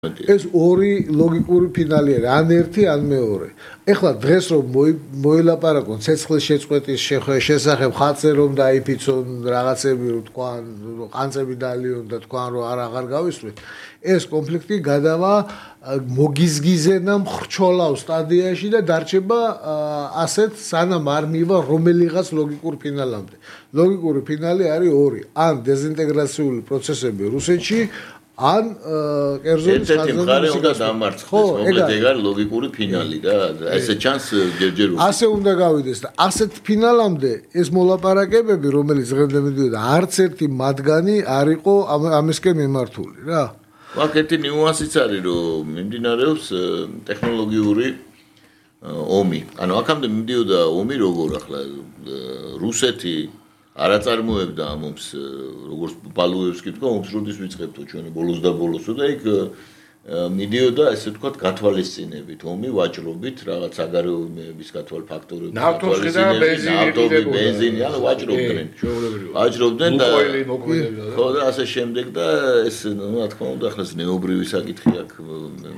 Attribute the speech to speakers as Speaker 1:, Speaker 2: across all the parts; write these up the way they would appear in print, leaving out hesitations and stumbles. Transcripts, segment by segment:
Speaker 1: ეს ორი ლოგიკური ფინალი არის, ან ერთი, ან მეორე. ეხლა დღეს რომ მოილაპარაკონ ცეცხლის შეწყვეტის შესახებ, ხალხზე რომ დაიფიცონ რაღაცები, რომ თქვან, ყანწები დალიონ და თქვან, რომ აღარ გავისვრით, ეს კონფლიქტი გადავა მოგიზგიზენა მხრჩოლავ სტადიაში და დარჩება ასეთ სანამ არ მივა რომელიღაც ლოგიკურ ფინალამდე. ლოგიკური ფინალი არის ორი, ან დეზინტეგრაციული პროცესები რუსეთში, ან კერძო
Speaker 2: ხაზი უნდა დამარცხდეს, მომდე ეგ არის ლოგიკური ფინალი და ესე ჩანს ჯერჯერ
Speaker 1: ასე უნდა გავიდეს და ასეთ ფინალამდე ეს მოლაპარაკებები, რომელიც დღემდე მიდიოდა, არც ერთი მათგანი არ იყო ამისკენ მიმართული რა.
Speaker 2: აქ ერთი ნიუანსიც არის, რომ მიმდინარეობს ტექნოლოგიური ომი. ანუ აქამდე მიდიოდა ომი როგორ ახლა რუსეთი არ აწარმოებდა მომს როგორც ბალუევსკი თქვა ომს როდის ვიწყებთო ჩვენ ბოლოს და ბოლოსო და იქ მიდიოდა ესე ვთქვათ გათვალისწინებით ომი ვაჭრობით რაღაც საგარეოების გათვალ ფაქტორები
Speaker 3: ნავთობი
Speaker 2: ბენზინი ანუ ვაჭრობდნენ და ხო და ასე შემდეგ და ეს რა თქმა უნდა ახლა ნეობრივი საკითხი აქ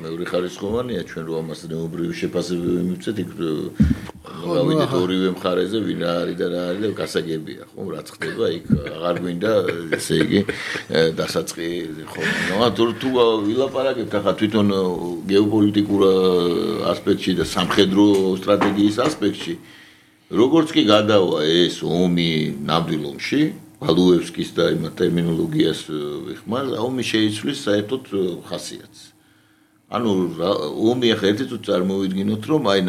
Speaker 2: მეორე ხარისხოვანია ჩვენ რომ ამას ნეობრივი შეფასებები მივცეთ იქ გავიდეთ ორივე მხარეზე ვინ რა არის და რა არის და გასაგებია ხო რაც ხდება იქ აღარ გვინდა ესე იგი დასაწყი ხო თუ ვილაპარაკებთ ახლა თვითონ გეოპოლიტიკურ ასპექტში და სამხედრო სტრატეგიის ასპექტში როგორც კი გადავა ეს ომი ნამდვილ ომში ბალუევსკის და იმ ტერმინოლოგიას ვიხმარ ომი შეიცვლის საერთოდ ხასიათს ანუ ომი ახლა ერთი თუ წარმოვიდგინოთ რომ აი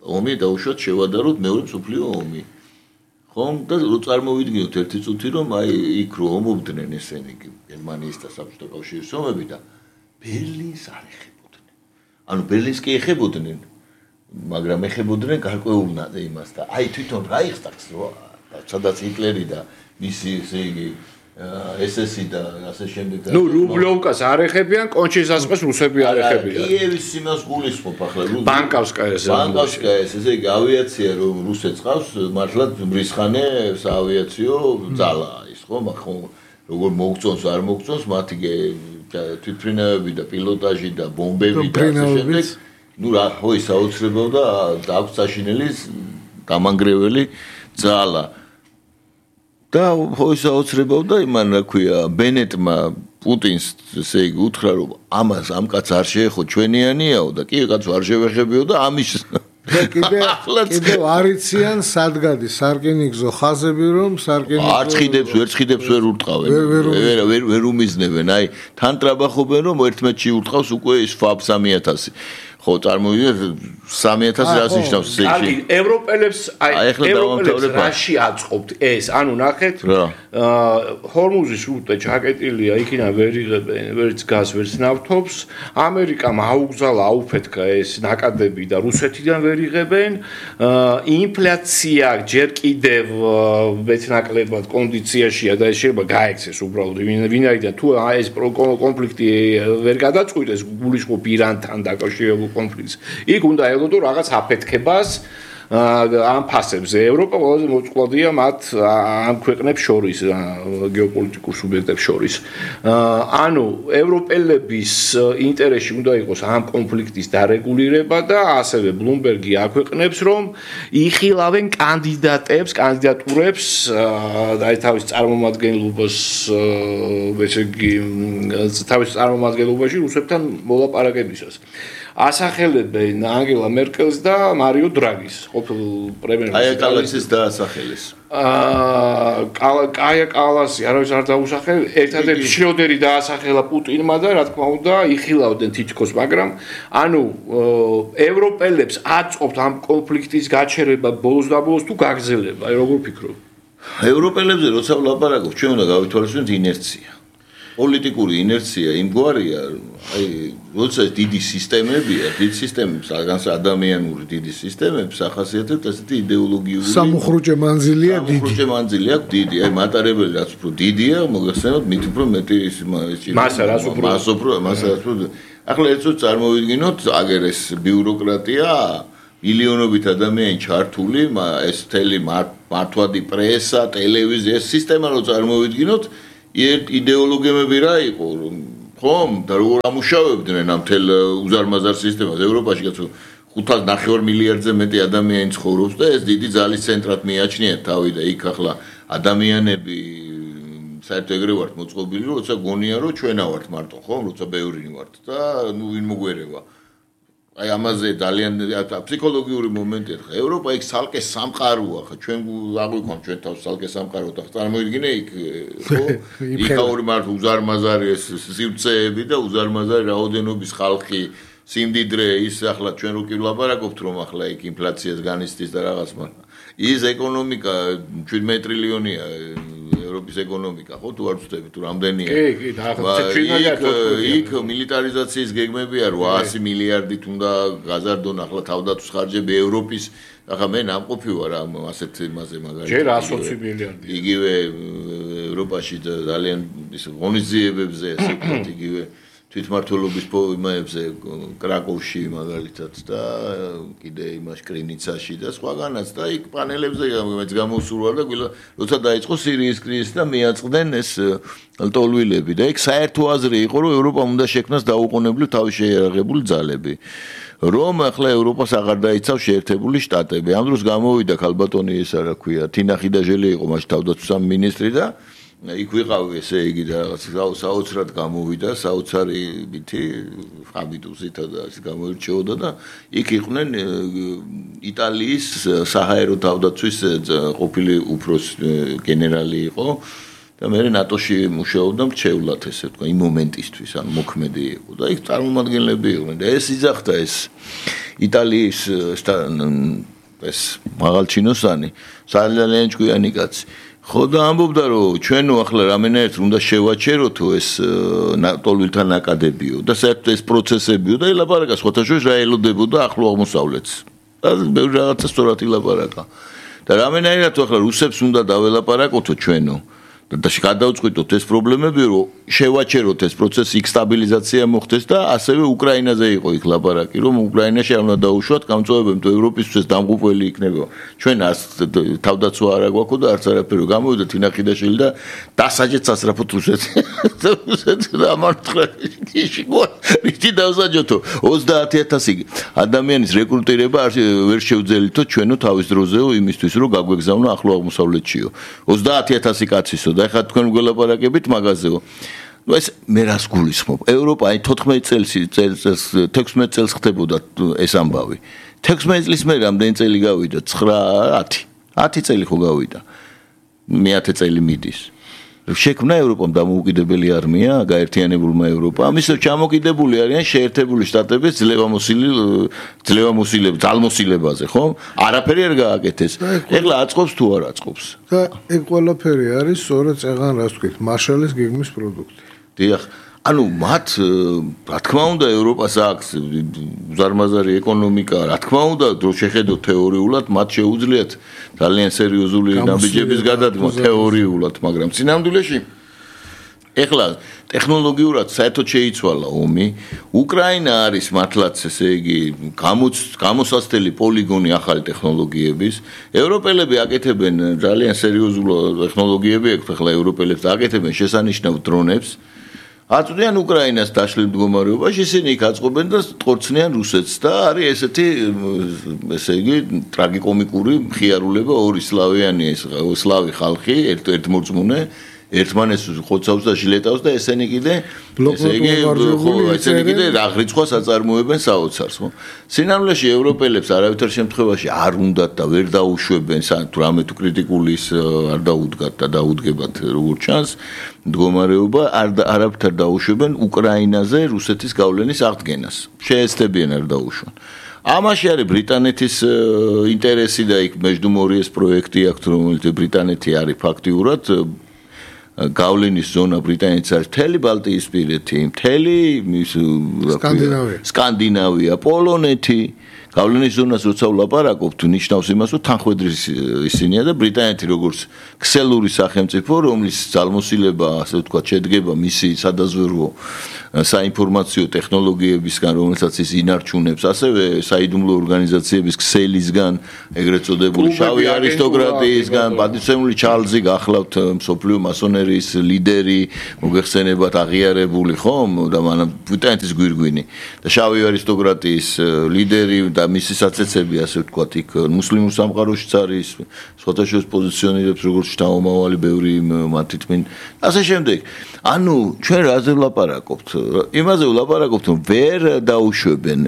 Speaker 2: ომი დაუშვათ შევადაროთ მეორე მსოფლიო ომი. ხომ და რო წარმოვიდგინოთ ერთი წუთი რომ აი იქ რო ომობდნენ ესენი გერმანიის და საბჭოთა კავშირის ომები და ბერლინს არ ეხებოდნენ. ანუ ბერლინს კი ეხებოდნენ, მაგრამ ეხებოდნენ გარკვეულნად იმას და აი თვითონ რაიხსტაგს რო სადაც ჰიტლერი და მისი ესე იგი SS და ასე შემდეგ.
Speaker 3: ნუ რუბლოვკას არ ეხებიან, კონჩიზასყეს რუსები არ ეხებიან.
Speaker 2: კიევის სიმას გულისხმობ ახლა
Speaker 3: ბანკავსკაიას.
Speaker 2: ბანკავსკაიას, ესე იგი ავიაცია რომ რუსეთს ყავს, მართლა მრისხანე საავიაციო ძალაა ის ხო, მაგრამ როგორ მოგწონს არ მოგწონს, მათი თვითმფრინავები და პილოტაჟი და ბომბები და ასე შემდეგ. ნუ რა ხო ის აუცილებლობა და აქვს საშინელი გამანგრეველი ძალა. და ხო ის აუცილებლობა იმან რა ქვია ბენეტმა პუტინს ესე იგი უთხრა რომ ამას ამ კაცს არ შეეხო ჩვენიანიაო და კი კაცს არ შევეხებიო და ამის
Speaker 1: კიდევ არიციან სადგადი სარკინიგზო ხაზები რომ სარკინიგზო
Speaker 2: არ ცხიდებს ვერ ურტყავენ ვერ უმიზნებენ აი თან ტრაბახობენ რომ ერთმეთში ურტყავს უკვე ის FAB 3000 ხო წარმოვიდგინეთ 3000 რას ნიშნავს ესე იგი
Speaker 3: ევროპელებს ევროპელებს რაში აწყობთ ეს ანუ ნახეთ ჰორმუზის რუტე ჩაკეტილია იქიდან ვერ იღებენ ვერც გაზ ვერც ნავთობს ამერიკამ აუგზალა აუფეთქა ეს ნაკადები და რუსეთიდან ვერ იღებენ ინფლაცია ჯერ კიდევ მეცნაკლებად კონდიციაშია და ეს შეიძლება გაექცეს უბრალოდ ვინაიდან თუ ეს კონფლიქტი ვერ გადაწყვიტეს გულისხმობ ირანთან დაკავშირებულ კონფლიქტს. იქ უნდა ელოდო რაღაც აფეთქებას ამ ფასებზე. ევროპა ყველაზე მოწყვლადია მათ ამ ქვეყნებს შორის, გეოპოლიტიკურ სუბიექტებს შორის. ანუ ევროპელების ინტერესში უნდა იყოს ამ კონფლიქტის დარეგულირება და ასევე ბლუმბერგი აქვეყნებს, რომ იხილავენ კანდიდატურებს და თავის წარმომადგენლობას, ესე იგი თავის წარმომადგენლობაში რუსებთან მოლაპარაკებისას. ასახელებენ ანგელა მერკელს და მარიო დრაგის ყოფილ პრემიერ-მინისტრს.
Speaker 2: აი კალასის დაასახელეს.
Speaker 3: კაია კალასი არავის არ დაუსახელ, ერთადერთი შრიოდერი დაასახელა პუტინმა და რა თქმა უნდა იხილავდნენ თითქოს, მაგრამ ანუ ევროპელებს აწყობთ ამ კონფლიქტის გაჩერება ბოლოს და ბოლოს თუ გაგრძელება, აი როგორ ფიქრობ?
Speaker 2: ევროპელებზე როცა ვლაპარაკობ, ჩვენ უნდა გავითვალისწინოთ ინერცია. პოლიტიკური ინერცია იმგვარია, აი, როცა დიდი სისტემებია, დიდი სისტემებს, განსაკუთრებით ადამიანური დიდი სისტემებს ახასიათებთ ასეთი იდეოლოგიური
Speaker 1: სამუხრუჭე მანძილია დიდი.
Speaker 2: სამუხრუჭე მანძილი აქვს დიდი, აი მატარებელი რაც უფრო დიდია, მოგეხსენებათ მით უფრო მეტი
Speaker 3: მასა რაც უფრო
Speaker 2: ახლა ერთო წარმოვიდგინოთ აგერ ეს ბიუროკრატია მილიონობით ადამიანი ჩართული, ეს თელი მართვადი პრესა, ტელევიზია, ეს სისტემა რო წარმოვიდგინოთ იდეოლოგიები რა იყო ხომ და როგორ ამუშავებდნენ ამ თელ უზარმაზარ სისტემას ევროპაში კაცო 5.9 მილიარდზე მეტი ადამიანი ცხოვრობს და ეს დიდი ძალის ცენტრად მიაჩნიათ თავი და იქ ახლა ადამიანები საერთოდ ეგრე ვართ მოწყობილი რომ როცა გონია რომ ჩვენა ვართ მარტო ხო როცა ბევრი ვართ და ნუ ვინ მოგვერევა აი ამაზე ძალიან ფსიქოლოგიური მომენტია ხა ევროპა იქ სალკე სამყაროა ხა ჩვენ აღვიქვამ ჩვენ თავს სალკე სამყარო და წარმოიდგინე იქ ხო იქ ორი მართ უზარმაზარი ეს სივრცეები და უზარმაზარი რაოდენობის ხალხი სიმდიდრე ის ახლა ჩვენ რო კი ვლაპარაკობთ რომ ახლა იქ ინფლაციას განიცდის და რაღაც მაგრამ ის ეკონომიკა 17 ტრილიონია ევროპის ეკონომიკა ხო თუ არ ვწდები თუ რამდენია
Speaker 3: კი
Speaker 2: იქ მილიტარიზაციის გეგმები არ 800 მილიარდით უნდა გაზარდონ ახლა თავდაცვის ხარჯები ევროპის ახლა მე ნამყოფი ვარ ამ ასეთ იმაზე მაგალითად
Speaker 3: ჯერ 120 მილიარდი
Speaker 2: იგივე ევროპაში ძალიან ის ღონისძიებებზე ასე ვთქვათ იგივე თვითმმართველობის იმებზე კრაკოვში მაგალითად და კიდე იმაში კრინიცაში და სხვაგანაც და იქ პანელებზე მეც გამოსურვა და როცა დაიწყო სირიის კრიზისი და მიაწყდნენ ეს ლტოლვილები და იქ საერთო აზრი იყო რომ ევროპამ უნდა შექმნას დაუყოვნებლივ თავის შეიარაღებული ძალები რომ ახლა ევროპას აღარ დაიცავს შეერთებული შტატები ამ დროს გამოვიდა ქალბატონი ეს რა ქვია თინა ხიდაჟელი იყო მაშინ თავდაცვის მინისტრი და იქ ვიყავი ესე იგი და რაღაც საოცრად გამოვიდა საოცარიბითი ჰაბიტუსითა და ეს გამოირჩეოდა და იქ იყვნენ იტალიის საჰაერო თავდაცვის ყოფილი უფროსი გენერალი იყო და მე ნატოში მუშაობდა მრჩევლად ესე თქვა იმ მომენტისთვის ან მოქმედი იყო და იქ წარმომადგენლები იყვნენ და ეს იძახდა ეს იტალიის ეს მაღალჩინოსანი ძალიან ჭკვიანი კაცი ხო და ამბობდა რომ ჩვენო ახლა რამენაერთ უნდა შევაჩეროთო ეს ტოლვილთა ნაკადებიო და საერთოდ ეს პროცესებიო და ელაპარაკა სხვათაშორის რა ელოდებოდა ახლო აღმოსავლეთს და ბევრი რაღაცა სწორად ილაპარაკა და რამენაერთ ახლა რუსებს უნდა დაველაპარაკოთო ჩვენო და გადავწყვიტოთ ეს პრობლემები რომ შევაჩეროთ ეს პროცესი იქ სტაბილიზაცია მოხდეს და ასევე უკრაინაზე იყო იქ ლაპარაკი რომ უკრაინაში არ უნდა დაუშვათ გამწვევებები თუ ევროპისთვის დამღუპველი იქნება ჩვენ თავდაცვა არ აგვაქვს და არც არაფერი გამოვიდა თინა ხიდაშვილი და დასაჯეთ სასწრაფოდ რუსეთს და ამართლაში რითი დავსაჯოთო 30000 ადამიანის რეკრუტირება ვერ შევძელითო ჩვენო თავის დროზეო იმისთვის რომ გაგვეგზავნო ახლო აღმოსავლეთშიო 30000 კაცისო და ეხლა თქვენ გველაპარაკებით მაგაზეო ну ეს მე რას გულისხმობ ევროპა აი 14 წელს 16 წელს ხდებოდა ეს ამბავი 16 წლის მე რამდენი წელი გავიდა 10 წელი ხო გავიდა მე-10 წელი მიდის შექმნა ევროპამ დამოუკიდებელი არმია გაერთიანებულმა ევროპამ ამის ჩამოკიდებული არიან შეერთებული შტატების ძალმოსილებაზე ხო არაფერი არ გააკეთეს ეხლა აწყობს თუ არ აწყობს
Speaker 1: და ეგ ყველაფერი არის სწორედ წეღან რას ვთქვით მარშალის გეგმის პროდუქტი
Speaker 2: დიახ ანუ მათ რა თქმა უნდა ევროპას აქვს უზარმაზარი ეკონომიკა რა თქმა უნდა რო შეხედოთ თეორიულად მათ შეუძლიათ ძალიან სერიოზული ნაბიჯების გადადგმა თეორიულად მაგრამ სინამდვილეში ეხლა ტექნოლოგიურად საერთოდ შეიცვალა ომი უკრაინა არის მართლაც ესე იგი გამოსაცდელი პოლიგონი ახალი ტექნოლოგიების ევროპელები აკეთებენ ძალიან სერიოზულ ტექნოლოგიები აქვს ახლა ევროპელებს აკეთებენ შესანიშნავ დრონებს აწვდიან უკრაინას დაშლილ მდგომარეობაში ისინი იქ აწყობენ და ტყორცნიან რუსეთს და არის ესეთი ესე იგი ტრაგიკომიკური მხიარულება ორი სლავიანი ეს სლავი ხალხი ერთმორწმუნე ერთმანეს ხოცავს და ჟილეტავს და ესენი კიდე ესე იგი ხო ესენი კიდე აღრიცხვას აწარმოებენ საოცარს ხო სინამდვილეში ევროპელებს არავითარ შემთხვევაში არ უნდათ და ვერ დაუშვებენ თუ რამე თუ კრიტიკულის არ დაუდგათ და დაუდგებათ როგორც ჩანს მდგომარეობა არავითარ დაუშვებენ უკრაინაზე რუსეთის გავლენის აღდგენას შეეცდებიან არ დაუშვან ამაში არის ბრიტანეთის ინტერესი და იქ მეჯდუმორიეს პროექტი აქვს რომელიც ბრიტანეთი არის ფაქტიურად გავლენის ზონა ბრიტანეთს არის მთელი ბალტიისპირეთი, მთელი სკანდინავია, პოლონეთი. გავლენის ზონას როცა ვლაპარაკობთ, ნიშნავს იმას, რომ თანხმედრის ისინია და ბრიტანეთი როგორც ქსელური სახელმწიფო, რომლის ძალმოსილება, ასე ვთქვათ, შედგება მისი სადაზვერვო საინფორმაციო ტექნოლოგიებისგან, რომელსაც ის ინარჩუნებს, ასევე საიდუმლო ორგანიზაციების ქსელისგან, ეგრეთ წოდებული შავი არისტოკრატიისგან, პატივცემული ჩარლზი გახლავთ მსოფლიო მასონერიის ფერმერის ლიდერი, მოგეხსენებათ აღიარებული ხომ და მანამ ბრიტანეთის გვირგვინი და შავი არისტოკრატიის ლიდერი და მისი საცეცები ასე ვთქვათ იქ მუსლიმურ სამყაროშიც არის სხვადასხვა პოზიციონირებს როგორც შთამომავალი ბევრი მათი თმინ ასე შემდეგ ანუ ჩვენ რაზე ვლაპარაკობთ იმაზე ვლაპარაკობთ რომ ვერ დაუშვებენ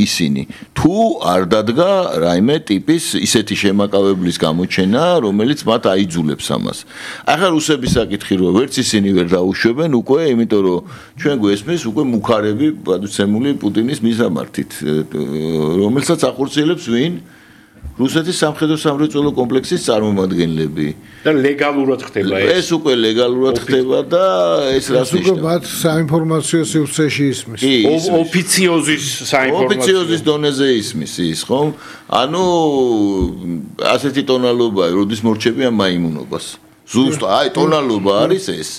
Speaker 2: ისინი თუ არ დადგა რაიმე ტიპის ისეთი შემაკავებლის გამოჩენა რომელიც მათ აიძულებს ამას ახლა რუსების საკითხი როა ვერც ისინი ვერ დაუშვებენ უკვე იმიტომ რომ ჩვენ გვესმის უკვე მუქარები პატუცემული პუტინის მიზამართით რომელსაც ახორციელებს ვინ რუსეთის სამხედრო სამრეწველო კომპლექსის წარმომადგენლები
Speaker 3: და ლეგალურად ხდება
Speaker 2: ეს უკვე ლეგალურად ხდება და ეს რას ნიშნავს
Speaker 1: უკვე მათ საინფორმაციო სივრცეში ისმის
Speaker 3: ოფიციოზის საინფორმაციო
Speaker 2: ოფიციოზის დონეზე ისმის ის ხომ ანუ ასეთი ტონალობაა როდის მორჩები ამ მაიმუნობას ზუსტ აი ტონალობა არის ეს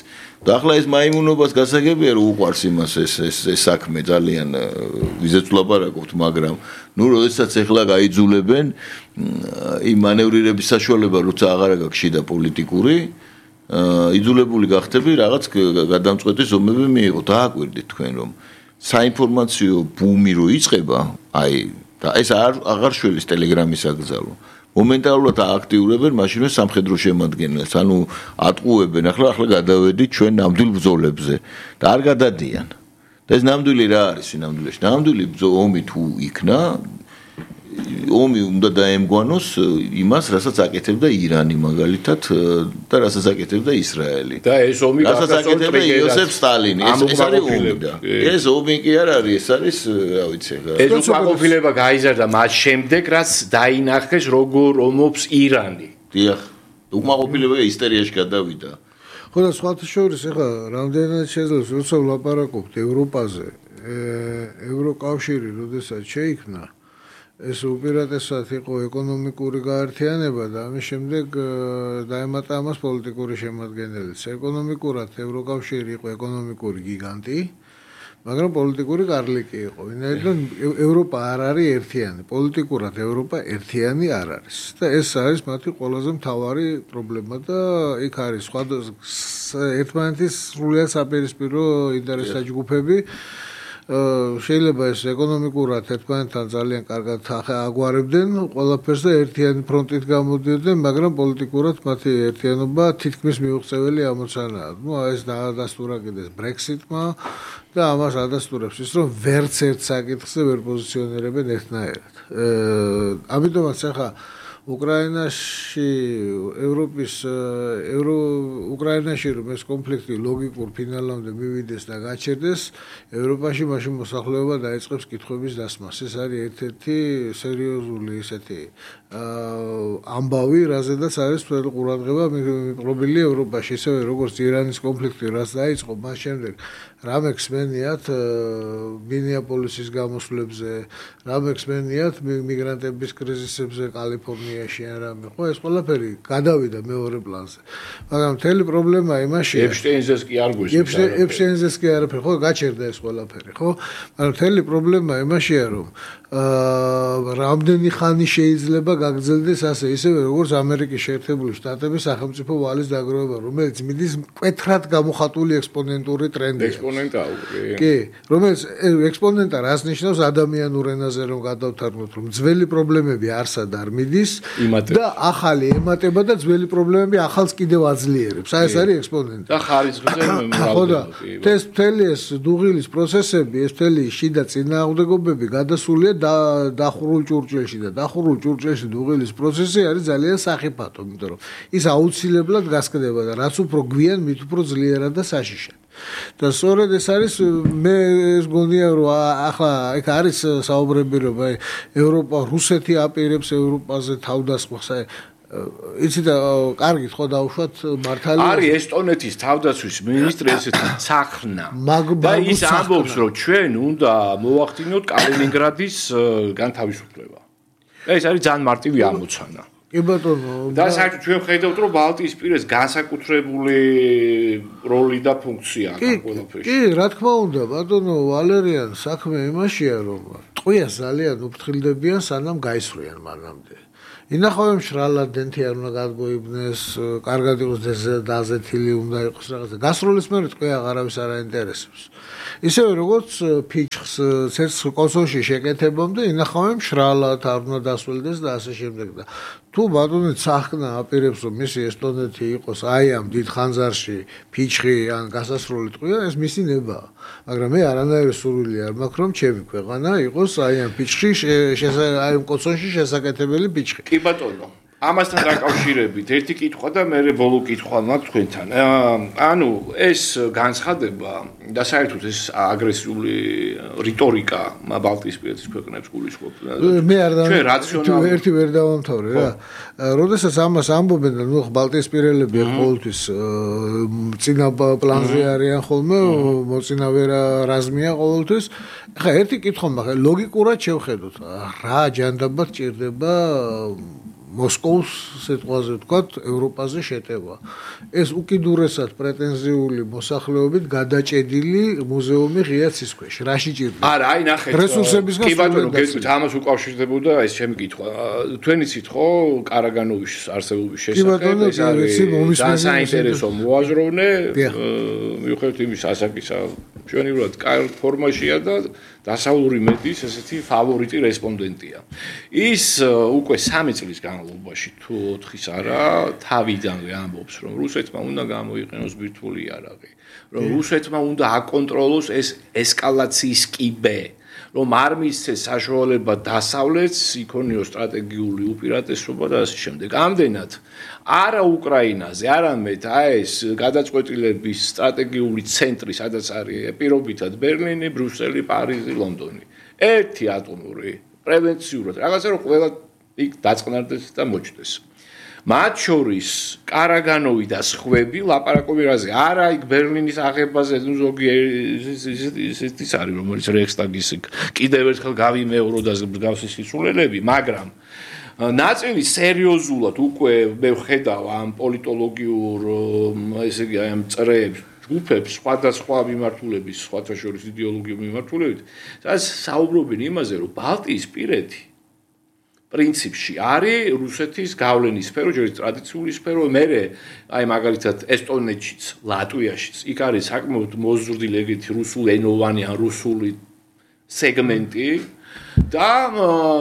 Speaker 2: და ახლა ეს მაიმუნობას გასაგებია რომ უყვარს იმას ეს საქმე ძალიან ვიზეც ვლაპარაკობთ მაგრამ ნუ როდესაც ახლა გაიძულებენ იმ მანევრირების საშუალება როცა აღარ გაქვს შიდა პოლიტიკური იძულებული გახდები რაღაც გადამწყვეტი ზომები მიიღო დააკვირდით თქვენ რომ საინფორმაციო ბუმი რო იწყება აი და ეს აღარ შველის ტელეგრამის აკრძალვა მომენტალურად ააქტიურებენ მაშინვე სამხედრო შემადგენლებს ანუ ატყუებენ ახლა გადავედით ჩვენ ნამდვილ ბრძოლებზე და არ გადადიან და ეს ნამდვილი რა არის ნამდვილში ნამდვილი ომი თუ იქნა ომი უნდა დაემგვანოს იმას რასაც აკეთებდა ირანი მაგალითად და რასაც აკეთებდა ისრაელი
Speaker 3: და ეს ომი
Speaker 2: რასაც აკეთებდა იოსებ სტალინი ეს არის ომი და ეს ომი კი არ არის ეს არის რა ვიცი
Speaker 3: ეს უკმაყოფილება გაიზარდა მას შემდეგ რაც დაინახეს როგორ ომობს ირანი
Speaker 2: დიახ უკმაყოფილება ისტერიაში გადავიდა
Speaker 1: ხო და სხვათა შორის ეხლა რამდენად შეძლებს როცა ვლაპარაკობთ ევროპაზე ევროკავშირი როდესაც შეიქმნა ეს უპირატესად იყო ეკონომიკური გაერთიანება და ამის შემდეგ დაემატა ამას პოლიტიკური შემადგენელიც. ეკონომიკურად ევროკავშირი იყო ეკონომიკური გიგანტი, მაგრამ პოლიტიკური კარლიკი იყო. ვინაიდან ევროპა არ არის ერთიანი, პოლიტიკურად ევროპა ერთიანი არ არის. და ეს არის მათი ყველაზე მთავარი პრობლემა და იქ არის ერთმანეთის სრულიად საპირისპირო ინტერესთა ჯგუფები. შეიძლება ეს ეკონომიკურად ერთმანეთთან ძალიან კარგად აგვარებდნენ ყველაფერს და ერთიანი ფრონტით გამოდიოდნენ, მაგრამ პოლიტიკურად მათი ერთიანობა თითქმის მიუღწეველი ამოცანაა. ნუ ეს დაადასტურა კიდეს ბრექსიტმა და ამას ადასტურებს ის, რომ ვერც ერთ საკითხზე ვერ პოზიციონირებენ ერთნაირად. ამიტომაც ახლა უკრაინაში უკრაინაში რომ ეს კონფლიქტი ლოგიკურ ფინალამდე მივიდეს და გაჩერდეს, ევროპაში მაშინ მოსახლეობა დაიწყებს კითხვების დასმას. ეს არის ერთ-ერთი სერიოზული ისეთი ამბავი, რაზედაც არის მთელი ყურადღება მიპყრობილი ევროპაში, ისევე როგორც ირანის კონფლიქტი, რაც დაიწყო, მას შემდეგ რა მექსმენიათ მინეაპოლისის გამოსვლებზე, რა მექსმენიათ მიგრანტების კრიზისებზე კალიფორნიაში ან რამე, ხო ეს ყველაფერი გადავიდა მეორე პლანზე. მაგრამ მთელი პრობლემა იმაშია.
Speaker 3: ეპშტეინზეს კი არ გვესმის.
Speaker 1: ეპშტეინზეს კი არაფერი, ხო გაჩერდა ეს ყველაფერი, ხო? მაგრამ მთელი პრობლემა იმაშია, რომ რამდენი ხანი შეიძლება გაგრძელდეს ასე, ისევე როგორც ამერიკის შეერთებული შტატების სახელმწიფო ვალის დაგროვება, რომელიც მიდის მკვეთრად გამოხატული ექსპონენტური ტრენდია. კი, რომელიც ექსპონენტა რას ნიშნავს ადამიანურ ენაზე რომ გადავთარგმნოთ, რომ ძველი პრობლემები არსად არ მიდის და ახალი ემატება და ძველი პრობლემები ახალს კიდევ აძლიერებს. აი ეს არის ექსპონენტი.
Speaker 3: და ხარისხზე
Speaker 1: მრავლდება. ეს მთელი ეს დუღილის პროცესები, ეს მთელი შიდა წინააღმდეგობები გადასულია დახურულ ჭურჭელში და დახურულ ჭურჭელში დუღილის პროცესი არის ძალიან სახიფათო, იმიტომ რომ ის აუცილებლად გასკდება და რაც უფრო გვიან, მით უფრო ძლიერად და საშიშად. და სწორედ ეს არის მე ეს გონია რომ ახლა იქ არის საუბრები რომ აი ევროპა რუსეთი აპირებს ევროპაზე თავდასხმას აი იცი და კარგით ხო დავუშვათ მართალია
Speaker 3: არის ესტონეთის თავდაცვის მინისტრი ესეთი ცახრნა და ის ამბობს რომ ჩვენ უნდა მოვახდინოთ კალინინგრადის განთავისუფლება ეს არის ძალიან მარტივი ამოცანა
Speaker 1: კი ბატონო
Speaker 3: და საერთოდ ჩვენ ხედავთ რომ ბალტიისპირეს განსაკუთრებული როლი და ფუნქცია აქვს ყველაფერში
Speaker 1: კი რა თქმა უნდა ბატონო ვალერიან საქმე იმაშია რომ ტყვიას ძალიან უფრთხილდებიან სანამ გაისვრიან მანამდე ინახავენ მშრალად დენთი არ უნდა გადმოიბნეს, კარგად იყოს დაზეთილი უნდა იყოს რაღაცა. გასროლის მერე თქვენ აღარავის არ აინტერესებს. ისევე როგორც ფიჩხს ცეცხლ კოსოში შეკეთებამდე ინახავენ მშრალად არ უნდა დასველდეს და ასე შემდეგ და თუ ბატონი ცახნა აპირებს რომ მისი ესტონეთი იყოს აი ამ დიდ ხანძარში ფიჩხი ან გასასროლი ტყვია ეს მისი ნებაა. მაგრამ მე არანაირი სურვილი არ მაქვს რომ ჩემი ქვეყანა იყოს აი ამ ფიჩხში აი ამ კოსოში შესაკეთებელი ფიჩხი.
Speaker 3: კი ბატონო ამასთან დაკავშირებით ერთი კითხვა და მე ბოლო კითხვა მაქვს თქვენთან. ანუ ეს განცხადება და საერთოდ ეს აგრესიული რიტორიკა ბალტიისპირეთის ქვეყნებს გულისხმობს.
Speaker 1: მე არ დავამთავრე. ერთი ვერ დავამთავრე რა. როდესაც ამას ამბობენ და ნუ ბალტიისპირელები ყოველთვის წინა პლანზე არიან ხოლმე, მოწინავე რაზმია ყოველთვის. ხა ერთი კითხვა მაქვს, ლოგიკურად შევხედოთ, რა ჯანდაბად ჭირდება მოსკოვის სიტყვაზე ვთქვათ, ევროპაზე შეტევა. ეს უკიდურესად პრეტენზიული მოსახლეობით გადაჭედილი მუზეუმი ღია ცის ქვეშ. რაში ჭირდება?
Speaker 3: არა, აი ნახეთ.
Speaker 1: რესურსებისგან
Speaker 3: კი ბატონო, გეტყვით, ამას უკავშირდებოდა ეს ჩემი კითხვა. თქვენი იცით ხო, კარაგანოვის არსებობის შესახებ ეს არის საინტერესო მოაზროვნე, მიუხედავად იმის ასაკისა ჩვენივრად კარგ ფორმაშია და დასავლური მედიის ესეთი ფავორიტი რესპონდენტია. ის უკვე 3 წლის განმავლობაში თუ 4-ის არა, თავიდანვე ამბობს, რომ რუსეთმა უნდა გამოიყენოს ბირთვული იარაღი, რომ რუსეთმა უნდა აკონტროლოს ეს ესკალაციის კიბე, რომ არ მისცეს საშუალება დასავლეთს იქონიოს სტრატეგიული უპირატესობა და ასე შემდეგ. ამდენად არა უკრაინაზე, არამედ ეს გადაწყვეტილების სტრატეგიული ცენტრი, სადაც არის პირობითად ბერლინი, ბრიუსელი, პარიზი, ლონდონი. ერთი ატომური პრევენციურად რაღაცა რომ ყველა იქ დაწყნარდეს და მოჩდეს. მათ შორის კარაგანოვი და სხვები ლაპარაკობენ რაზე არა იქ ბერლინის აღებაზე ნუ ზოგი ისეთის არის რომელიც რეიხსტაგის კიდევ ერთხელ გავიმეორო და მსგავსი სისულელები მაგრამ ნაწილი სერიოზულად უკვე მე ვხედავ ამ პოლიტოლოგიურ ესე იგი ამ წრეებს ჯგუფებს სხვადასხვა მიმართულების სხვათა შორის იდეოლოგიურ მიმართულებით სადაც საუბრობენ იმაზე რომ ბალტიისპირეთი პრინციპში არის რუსეთის გავლენის სფერო, ჯერ ტრადიციული სფერო, მერე აი მაგალითად ესტონეთშიც, ლატვიაშიც, იქ არის საკმაოდ მოზრდილი ეგეთი რუსულენოვანი ან რუსული სეგმენტი და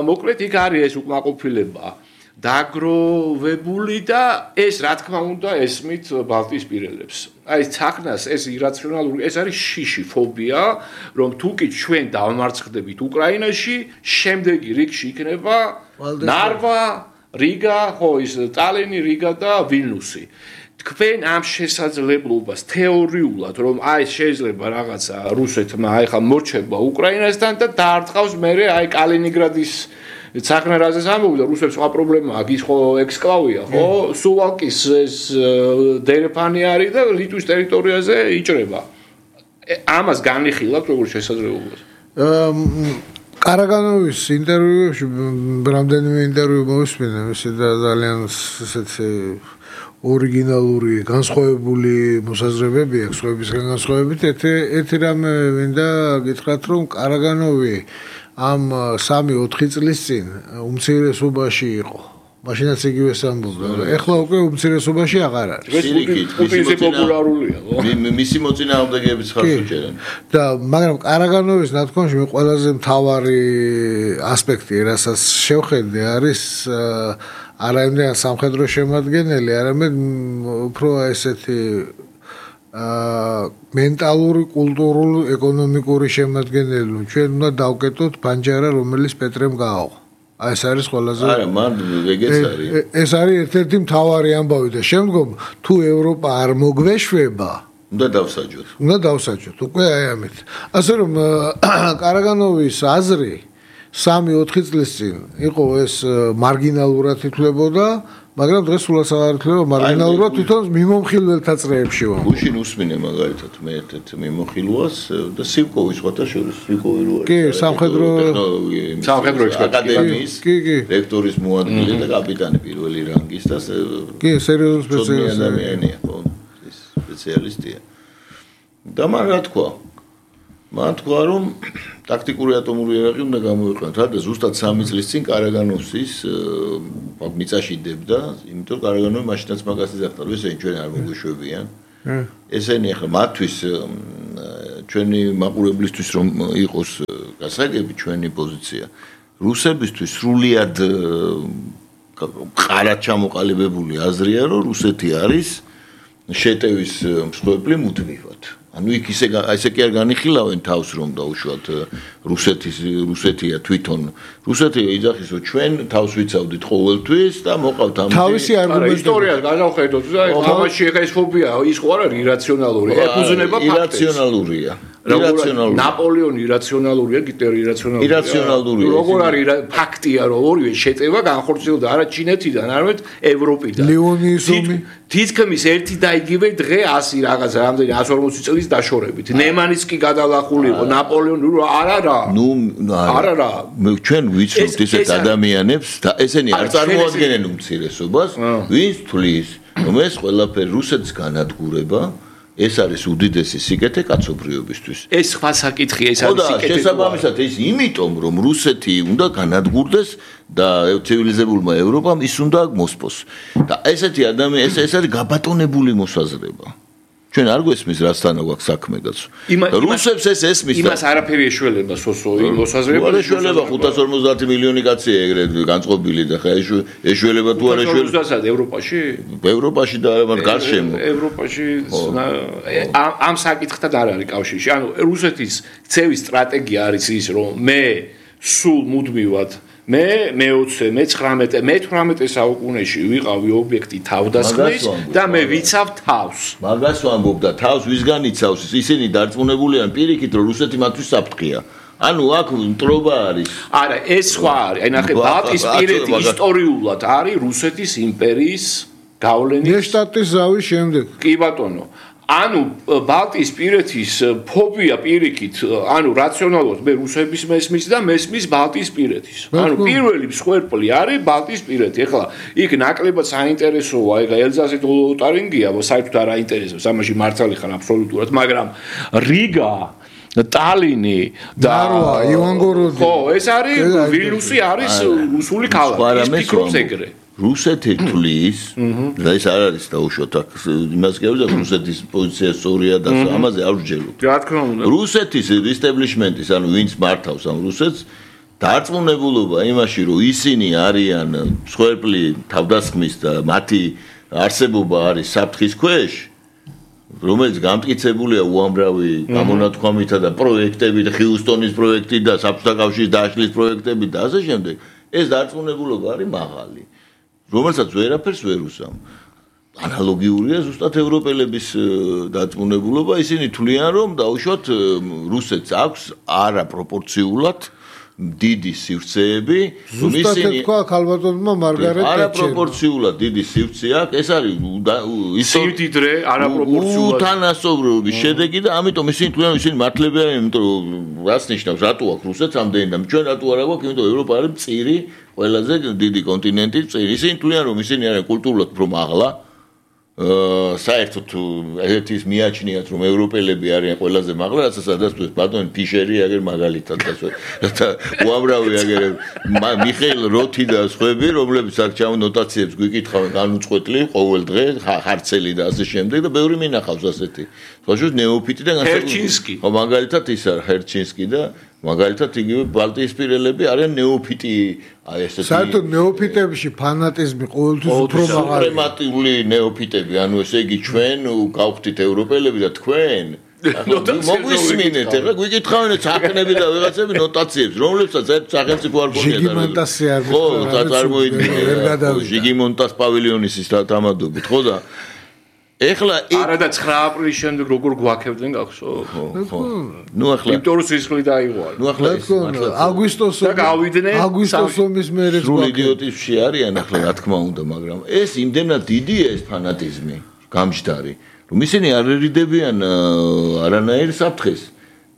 Speaker 3: მოკლედ იქ არის ეს უკმაყოფილება დაგროვებული და ეს რა თქმა უნდა ესმით ბალტიისპირელებს. აი ცახნას ეს ირაციონალური, ეს არის შიში ფობია, რომ თუ კი ჩვენ დავმარცხდებით უკრაინაში, შემდეგი რიგში იქნება ნარვა, რიგა, ხო ის ტალინი, რიგა და ვილნუსი. თქვენ ამ შესაძლებლობას თეორიულად რომ აი შეიძლება რაღაცა რუსეთმა აი ხა მორჩება უკრაინასთან და დაარტყავს მერე აი კალინინგრადის ცახნარაზე ამოვიდა რუსებს სხვა პრობლემა აქვს ის ხო ექსკლავია ხო სუვალკის ეს დერეფანი არის და ლიტვის ტერიტორიაზე იჭრება ამას განიხილავთ როგორ შესაძლებლობას
Speaker 1: კარაგანოვის ინტერვიუებში რამდენიმე ინტერვიუ მოვისმინე ისე ძალიან ესეთი ორიგინალური განსხვავებული მოსაზრებები აქვს სხვებისგან განსხვავებით ერთი რამე მინდა გითხრათ რომ კარაგანოვი ამ 3-4 წლის წინ უმცირესობაში იყო. მაშინაც იგივე ამბობდა. ეხლა უკვე უმცირესობაში აღარ არის.
Speaker 3: ის პოპულარულია, ხო?
Speaker 2: მისი მოწინააღმდეგეებიც ხარს უჭერენ.
Speaker 1: და მაგრამ კარაგანოვის ნათქვამში მე ყველაზე მთავარი ასპექტი, რასაც შევხედე, არის არა იმდენად სამხედრო შემადგენელი, არამედ უფრო ესეთი მენტალური, კულტურული, ეკონომიკური შემადგენელი. ჩვენ უნდა დავკეტოთ ბანჯარა, რომელიც პეტრემ გააო. აი ეს არის ყველაზე
Speaker 2: არა, მან ეგეც არის.
Speaker 1: ეს არის ერთ-ერთი მთავარი ამბავი და შემდგომ თუ ევროპა არ მოგვეშვება,
Speaker 2: უნდა დავსაჯოთ.
Speaker 1: უნდა დავსაჯოთ. უკვე აი ამით. ასე რომ კარაგანოვის აზრი 3-4 წლის წინ იყო ეს მარგინალურად ითვლებოდა მაგრამ დღეს სულაც აღარ ითვლება მარგინალურად თვითონ მიმომხილველთა წრეებში ვარ.
Speaker 2: გუშინ უსმინე მაგალითად მე ერთ მიმოხილვას და სივკოვის სხვათა შორის სივკოვი რო არის.
Speaker 1: კი, სამხედრო
Speaker 2: აკადემიის რექტორის მოადგილე და კაპიტანი პირველი რანგის და
Speaker 1: კი, სერიოზული სპეციალისტია.
Speaker 2: ეს სპეციალისტია. და მან რა თქვა? მან თქვა რომ ტაქტიკური ატომური იარაღი უნდა გამოიყენოთ. რა და ზუსტად 3 წლის წინ კარაგანოვსის მიწაში დებდა, იმიტომ რომ კარაგანოვი მაშინაც მაგას იძახდა, რომ ესენი ჩვენ არ მოგვეშვებიან. ესენი ახლა მათთვის ჩვენი მაყურებლისთვის რომ იყოს გასაგები ჩვენი პოზიცია. რუსებისთვის სრულიად ყარად ჩამოყალიბებული აზრია, რომ რუსეთი არის შეტევის მსხვერპლი მუდმივად. ანუ იქ ისე კი არ განიხილავენ თავს რომ დაუშვათ რუსეთია თვითონ რუსეთი იძახის რომ ჩვენ თავს ვიცავდით ყოველთვის და მოყავთ ამ
Speaker 1: თავისი არგუმენტი
Speaker 3: ისტორიას გადავხედოთ და თამაში ეხა ეს ფობია ის ხო არა ირაციონალური ეკუზნება ფაქტებს
Speaker 2: ირაციონალურია
Speaker 3: ნაპოლეონი ირაციონალურია გიტლერი ირაციონალურია როგორ არის ფაქტია რომ ორივე შეტევა განხორციელდა არა ჩინეთიდან არამედ ევროპიდან
Speaker 1: ლეონიზმი
Speaker 3: თითქმის ერთი და იგივე დღე 100 რაღაცა რამდენი 140 წლის დაშორებით ნემანის კი გადალახული იყო ნაპოლეონი არა არა
Speaker 2: ჩვენ ვიცნობთ ისეთ ადამიანებს და ესენი არ წარმოადგენენ უმცირესობას ვინც თulis რომ ეს ყველაფერი რუსეთს განადგურება ეს არის უდიდესი სიკეთე კაცობრიობისთვის.
Speaker 3: ეს სხვა საკითხია, ეს არის სიკეთე.
Speaker 2: და შესაბამისად ეს იმიტომ რომ რუსეთი უნდა განადგურდეს და ცივილიზებულმა ევროპამ ის უნდა მოსპოს. და ესეთი ადამიანი ეს არის გაბატონებული მოსაზრება. ჩვენ არ გვესმის რასთან აქვს საქმე კაცო. რუსებს ეს ესმის
Speaker 3: და იმას არაფერი ეშველება სოსოი მოსაზრება.
Speaker 2: ეშველება 550 მილიონი კაცია ეგრეთ განწყობილი და ხა ეშველება თუ არ ეშველება.
Speaker 3: რუსეთსა ევროპაში?
Speaker 2: ევროპაში და გარშემო.
Speaker 3: ევროპაში ამ საკითხთან არ არის კავშირში. ანუ რუსეთის ქცევის სტრატეგია არის ის რომ მე სულ მუდმივად მე-19 საუკუნეში ვიყავი ობიექტი თავდასხმის და მე ვიცავ თავს.
Speaker 2: მაგას ვამბობ და თავს ვისგან იცავს? ისინი დარწმუნებულია პირიქით რომ რუსეთი მათთვის საფრთხეა. ანუ აქ მტრობა არის.
Speaker 3: არა, ეს სხვა არის. აი ნახე, ბალტიისპირეთი ისტორიულად არის რუსეთის იმპერიის გავლენის
Speaker 1: ნეშტატის ზავის შემდეგ.
Speaker 3: კი ბატონო. ანუ ბალტიისპირეთის ფობია პირიქით, ანუ რაციონალურად მე რუსების მესმის და მესმის ბალტიისპირეთის. ანუ პირველი მსხვერპლი არის ბალტიისპირეთი. ეხლა იქ ნაკლებად საინტერესოა, ეხლა ელზასი თუ ლოტარინგია, საერთოდ არ აინტერესებს, ამაში მართალი ხარ აბსოლუტურად, მაგრამ რიგა ტალინი და
Speaker 1: ივანგოროდი.
Speaker 3: ხო, ეს არის ვილნიუსი არის რუსული ქალაქი. ის ფიქრობს ეგრე.
Speaker 2: რუსეთი თulis და ეს არ არის დაუშვათ აქ იმას გეუბნები რუსეთის პოზიცია სწორია და ამაზე არ ვჯეროთ.
Speaker 3: რა თქმა უნდა.
Speaker 2: რუსეთის establishment-ის ანუ ვინც მართავს ამ რუსეთს დარწმუნებულობა იმაში რომ ისინი არიან მსხვერპლი თავდასხმის და მათი არსებობა არის საფრთხის ქვეშ რომელიც გამტკიცებულია უამრავი გამონათქვამითა და პროექტებით ხიუსტონის პროექტი და საბჭოთა კავშირის დაშლის პროექტები და ასე შემდეგ ეს დარწმუნებულობა არის მაღალი. რომელსაც ვერაფერს ვერ უსამ. ანალოგიურია ზუსტად ევროპელების დარწმუნებულობა, ისინი თვლიან რომ დაუშვათ რუსეთს აქვს არაპროპორციულად დიდი სივრცეები,
Speaker 1: ისინი თქვა ქალბატონმა მარგარეტ ტეტჩერმა.
Speaker 2: არაპროპორციულად დიდი სივრცე აქვს, ეს არის
Speaker 3: სიმდიდრე არაპროპორციულად
Speaker 2: უთანასწორობის შედეგი და ამიტომ ისინი თვლიან ისინი მართლები არიან, იმიტომ რომ რას ნიშნავს რატო აქვს რუსეთს ამდენი და ჩვენ რატო არ აქვს, იმიტომ ევროპა არის მწირი ყველაზე დიდი კონტინენტი წირი. ისინი თვლიან რომ ისინი არიან კულტურულად უფრო მაღლა. საერთოდ ერთის მიაჩნიათ რომ ევროპელები არიან ყველაზე მაღლა, რასაც ადასტურებს ბატონი ფიშერი აგერ მაგალითად და უამრავი აგერ მიხეილ როთი და სხვები, რომლებიც აქ ჩამ ნოტაციებს გვიკითხავენ განუწყვეტლი ყოველ დღე, ხარცელი და ასე შემდეგ და ბევრი მინახავს ასეთი. ხოშუს ნეოფიტი და
Speaker 3: ჰერჩინსკი.
Speaker 2: ხო მაგალითად ის არის ჰერჩინსკი და მაგალითად იგივე ბალტიისპირელები არიან ნეოფიტი აი ესეთი
Speaker 1: საერთოდ ნეოფიტებში ფანატიზმი ყოველთვის უფრო მაღალი
Speaker 2: სუპრემატიული ნეოფიტები ანუ ესე იგი ჩვენ გავხდით ევროპელები და თქვენ მოგვისმინეთ ეხლა გვიკითხავენ საქმეები და ვიღაცები ნოტაციებს რომლებსაც ერთ სახელმწიფო არ გონია
Speaker 1: ჟიგიმონტასი არ
Speaker 2: ხო წარმოიდგინე ჟიგიმონტას პავილიონის ის თამადობით ხო და ეხლა
Speaker 3: არა და 9 აპრილის შემდეგ როგორ გვაქებდნენ გახსო?
Speaker 2: ხო. ნუ ახლა
Speaker 3: იმიტომ რომ სისხლი დაიღვალა.
Speaker 2: ნუ ახლა
Speaker 1: აგვისტოს ომის მერე
Speaker 2: სრულ იდიოტიზმში არიან ახლა რა თქმა უნდა, მაგრამ ეს იმდენად დიდია ეს ფანატიზმი, გამჯდარი, რომ ისინი არ ერიდებიან არანაირ საფრთხეს.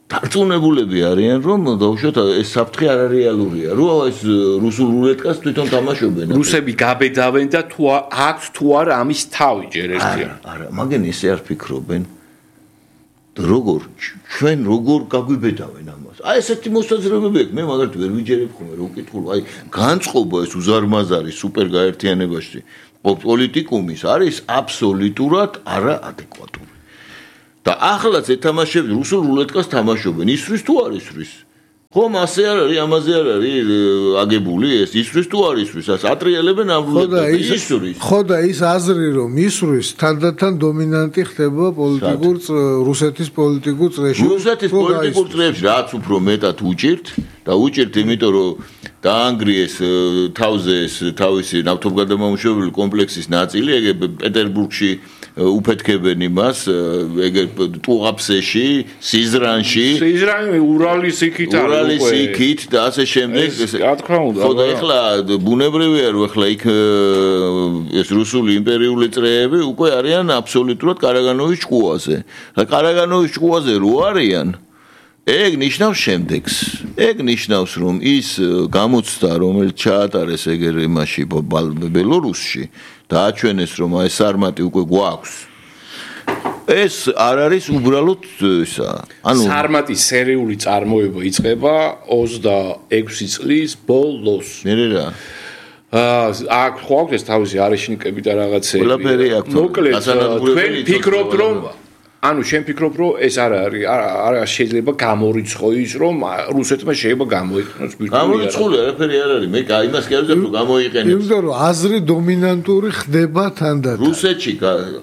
Speaker 2: დარწმუნებულები არიან რომ დაუშვათ ეს საფრთხე არარეალურია. რო ეს რუსულ რულეტკას თვითონ თამაშობენ.
Speaker 3: რუსები გაბედავენ და თუ აქვს თუ არა ამის თავი ჯერ ერთია.
Speaker 2: არა, მაგენ ისე არ ფიქრობენ. როგორ ჩვენ როგორ გაგვიბედავენ ამას? აი ესეთი მოსაზრებები აქვს. მე მაგალითად ვერ ვიჯერებ ხოლმე რომ ვკითხულობ, აი განწყობა ეს უზარმაზარი სუპერ გაერთიანებაში პოლიტიკუმის არის აბსოლუტურად არაადეკვატური. და ახლაც ეთამაშები რუსულ რულეტკას თამაშობენ, ისვრის თუ არ ისვრის. ხომ ასე არ არის, ამაზე არ არის აგებული ეს ისვრის თუ არ ისვრის, ას ატრიალებენ ამ რულეტკას ისვრის.
Speaker 1: ხო და ის აზრი რომ ისვრის თანდათან დომინანტი ხდება პოლიტიკურ რუსეთის პოლიტიკურ წრეში.
Speaker 2: რუსეთის პოლიტიკურ წრეებში რაც უფრო მეტად უჭირთ და უჭირთ იმიტომ რომ დაანგრიეს თავზე ეს თავისი ნავთობგადამამუშავებელი კომპლექსის ნაწილი, ეგ პეტერბურგში უფეთქებენ იმას, ეგ ტუღაფსეში, სიზრანში,
Speaker 3: ურალის იქით
Speaker 2: და ასე შემდეგ.
Speaker 3: რა თქმა უნდა.
Speaker 2: ხო და ეხლა ბუნებრივია რომ ეხლა იქ ეს რუსული იმპერიული წრეები უკვე არიან აბსოლუტურად კარაგანოვის ჭკუაზე. და კარაგანოვის ჭკუაზე რო არიან ეგ ნიშნავს შემდეგს. ეგ ნიშნავს რომ ის გამოცდა რომელიც ჩაატარეს ეგერ იმაში ბელორუსში დააჩვენეს რომ აი სარმატი უკვე გვაქვს. ეს არ არის უბრალოდ ისა.
Speaker 3: ანუ სარმატის სერიული წარმოება იწყება 26 წლის ბოლოს.
Speaker 2: მერე რა
Speaker 3: აქ ხო აქვს ეს თავისი არეშნიკები და რაღაცები.
Speaker 2: ყველაფერი აქვს.
Speaker 3: მოკლედ თქვენ ფიქრობთ რომ ანუ შენ ფიქრობ რომ ეს არ შეიძლება გამორიცხო ის რომ რუსეთმა შეიძლება გამოიყენოს
Speaker 2: ბირთვული გამორიცხული არაფერი არ არის მე იმას კი არ ვზებ რომ გამოიყენოს
Speaker 1: იმიტომ რომ აზრი დომინანტური ხდება თანდათან
Speaker 2: რუსეთში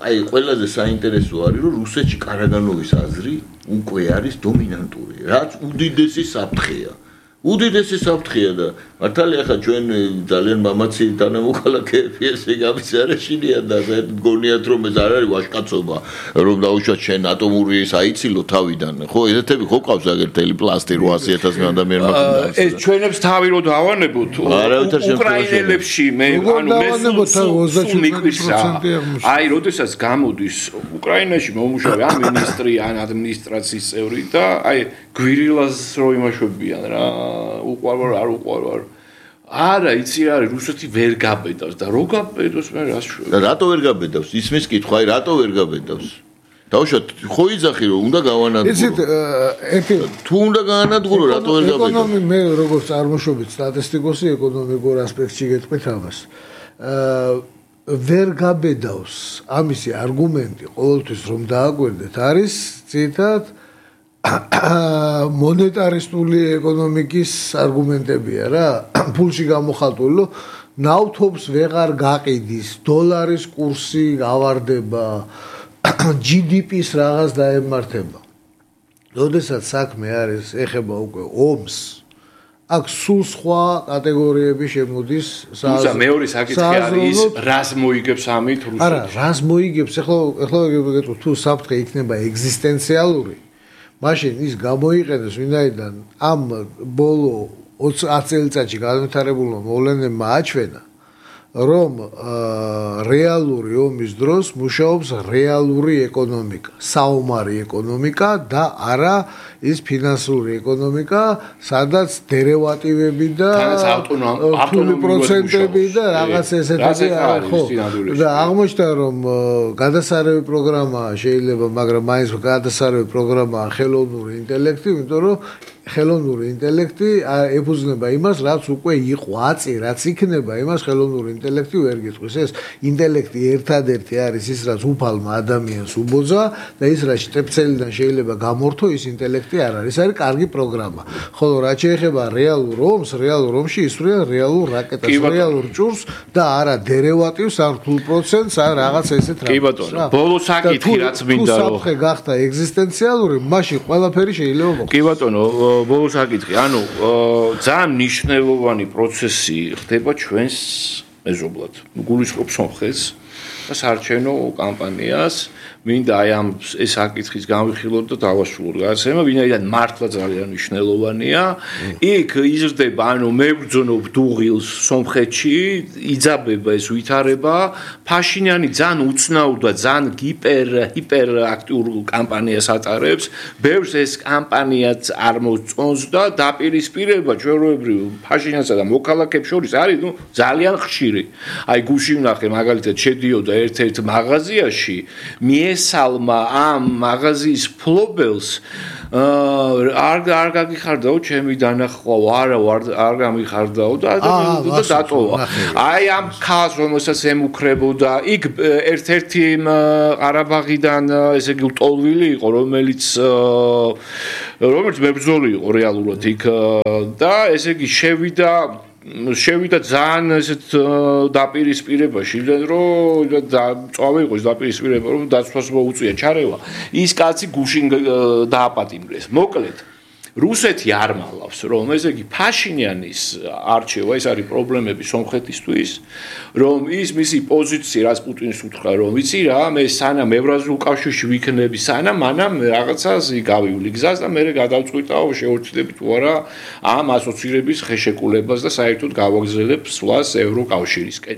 Speaker 2: აი ყველაზე საინტერესო არის რომ რუსეთში კარაგანოვის აზრი უკვე არის დომინანტური რაც უდიდესი საფრთხეა უდიდესი საფრთხეა და მართალია ხა ჩვენ ძალიან მამაცი თანამოქალაქეები ესე გამიზარაშინიან და გონიათ რომ ეს არ არის ვაჟკაცობა რომ დაუშვათ შენ ატომური საიცილო თავიდან ხო ესეთები ხო ყავს აგერთელი პლასტი 800,000 ადამიანმა
Speaker 3: ეს ჩვენებს თავი რო დავანებოთ უკრაინელებში მე ანუ აი როდესაც გამოდის უკრაინაში მომუშავე ან მინისტრი ან ადმინისტრაციის წევრი და აი გვირილას რო იმაშვებიან რა უყვალვარ არ უყვალვარ არა იცი რა არის რუსეთი ვერ გაბედავს და რო გაბედოს მე რას შვები
Speaker 2: და რატო ვერ გაბედავს ისმის კითხვა აი რატო ვერ გაბედავს დაუშვათ ხო იძახი რომ უნდა გავანადგურო
Speaker 1: იცით ერთი
Speaker 2: თუ უნდა გაანადგურო რატო ვერ გაბედავს
Speaker 1: ეკონომი მე როგორც წარმოშობით სტატისტიკოსი ეკონომიკურ ასპექტში გეტყვით ამას ვერ გაბედავს ამისი არგუმენტი ყოველთვის რომ დააგვერდეთ არის ძირითადად მონეტარისტული ეკონომიკის არგუმენტებია რა ფულში გამოხატული ნავთობს ვეღარ გაყიდის დოლარის კურსი ავარდება GDP-ს რაღაც დაემართება როდესაც საქმე არის ეხება უკვე ომს აქ სულ სხვა კატეგორიები შემოდის
Speaker 3: სა მეორე საკითხი არის რას მოიგებს ამით რუსეთი
Speaker 1: არა რას მოიგებს ეხლა გეტყვით თუ საფრთხე იქნება ეგზისტენციალური მაშინ ის გამოიყენეს ვინაიდან ამ ბოლო 20 წელიწადში განვითარებულმა მოვლენებმა აჩვენა რომ რეალური ომის დროს მუშაობს რეალური ეკონომიკა, საომარი ეკონომიკა და არა ის ფინანსური ეკონომიკა, სადაც დერევატივები და ავტონომიური პროცენტები და რაღაც ესეთები არის ხო და აღმოჩნდა რომ გადასარევი პროგრამა შეიძლება, მაგრამ მაინც გადასარევი პროგრამაა ხელოვნური ინტელექტი, იმიტომ რომ ხელოვნური ინტელექტი ეფუძნება იმას, რაც უკვე იყო აწი, რაც იქნება იმას ხელოვნური ინტელექტი ვერ გიტყვის. ეს ინტელექტი ერთადერთი არის ის, რაც უფალმა ადამიანს უბოძა და ის, რაც შტეფცელიდან შეიძლება გამორთო, ის ინტელექტი არ არის. ეს არის კარგი პროგრამა. ხოლო რაც შეეხება რეალურ ომს, რეალურ ომში ისვრიან რეალურ რაკეტას, რეალურ ჭურს და არა დერევატივს, არ რთულ პროცენტს, არ რაღაც ესეთ
Speaker 3: რაღაცას. კი ბატონო, ბოლო საკითხი რაც მინდა რომ
Speaker 1: საფრთხე გახდა ეგზისტენციალური, მაშინ ყველაფერი შეიძლება მოხდეს.
Speaker 3: კი ბატონო, ბოლო საკითხი, ანუ ძალიან მნიშვნელოვანი პროცესი ხდება ჩვენს მეზობლად. გულისხმობ სომხეთს და საარჩევნო კამპანიას. მინდა აი ამ ეს საკითხის განვიხილოთ და დავასრულოთ გადაცემა, ვინაიდან მართლა ძალიან მნიშვნელოვანია. იქ იზრდება, ანუ მებრძოლობ დუღილს სომხეთში, იძაბება ეს ვითარება. ფაშინიანი ძალიან უცნაურ და ძალიან ჰიპერ აქტიურ კამპანიას ატარებს. ბევრს ეს კამპანიაც არ მოწონს და დაპირისპირება ჩვეულებრივ ფაშინიანსა და მოქალაქეებს შორის არის ძალიან ხშირი. აი გუში ვნახე მაგალითად შედიოდა ერთ-ერთ მაღაზიაში ესალმა ამ მაღაზიის ფლობელს არ გაგიხარდაო ჩემი დანახვა, არა არ გამიხარდაო და დატოვა. აი ამ ხაზს რომელსაც ემუქრებოდა, იქ ერთ-ერთი ყარაბაღიდან ესე იგი ლტოლვილი იყო, რომელიც მებრძოლი იყო რეალურად იქ და ესე იგი შევიდა ძალიან ესეთ დაპირისპირებაში, რომ წავე იყო ეს დაპირისპირება, რომ დაცვას მოუწია ჩარევა. ის კაცი გუშინ დააპატიმრეს. მოკლედ რუსეთი არ მალავს, რომ ესე იგი ფაშინიანის არჩევა, ეს არის პრობლემები სომხეთისთვის, რომ ის მისი პოზიცია რაც პუტინს უთხრა, რომ ვიცი რა, მე სანამ ევრაზიულ კავშირში ვიქნები, სანამ მანამ რაღაცას გავივლი გზას და მე გადავწყვიტავ შეურჩიდები თუ არა ამ ასოცირების ხეშეკულებას და საერთოდ გავაგზავნებ სვლას ევროკავშირისკენ.